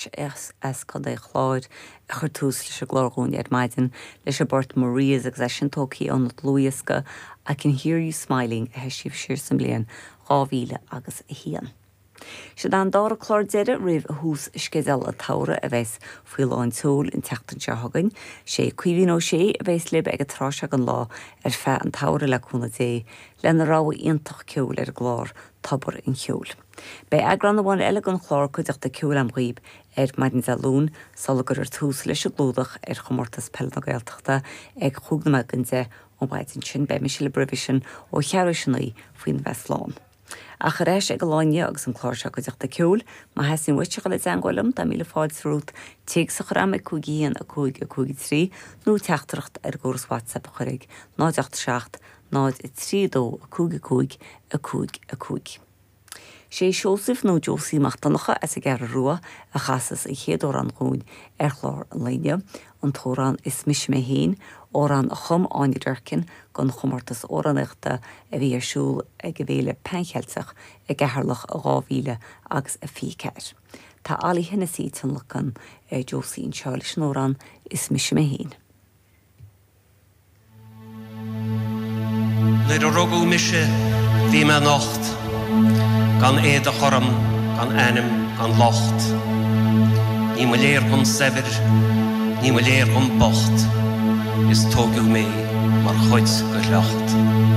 As Contae an Chláir a chuir tús leis an gclár dhúinn ar maidin leis an bport Maria's agus é sin tógtha óna dlúthdhiosca I Can Hear You Smiling a heisíodh siar sa mbliain 2000 agus 1. Siod é an dara clár deiridh roimh thús sceideal an tsamhraidh a bheas faoi lán tseoil an tseachtain seo chugainn. Sé Caoimhín Ó Sé a bheas libh ag an tráth seo den lá ar feadh an tsamhraidh le cúnamh Dé lena rogha iontach ceoil ar an gclár Tobar an Cheoil. Beidh eagrán amháin eile den chlár Cuideachta Ceoil a'm dhaoib ar maidin Dé Luain sula gcuirfear tús leis an gclúdach ar Chomórtas Peile na Gaeltachta ag chúig nóiméad don 10 an mhaidin sin. Beidh mise libh roimhe sin ó cheathrú théis a 9 faoina bheith slán. Ach ar ais ag an lá inniu agus an clár seo Cuideachta Ceoil, má theastaíonn uait a dhul i dteangmháil liom, tá míle fáilte romhat téacs a chur a'm ag 5 1 5 5 3 nó teachtaireacht ar an gcóras WhatsApp a chur ag 0 8 7 0 3 2 5 5 5 5. Sé Seosamh nó Josie Mac Donncha as an gCeathrú Rua a chasas an chéad amhrán dhúinn ar chlár an lae inniu, an t-amhrán Is Mise Mé Féin, amhrán a chum Áine Durkin don chomórtas amhránaíochta a bhí ar siúl ag an bhFéile Pan-Cheilteach i gCeatharlach i 2024. Tá Ollie Hennessy ag tionlacan ar Josie anseo leis an amhrán Is Mise Mé Féin. Nuair a rugadh mise bhí mé nocht, gan éadach orm, gan ainm, gan locht. Ní mba léir dhom saibhir, ní mba léir dhom bocht, is tóigeadh mé mar chuid de shliocht.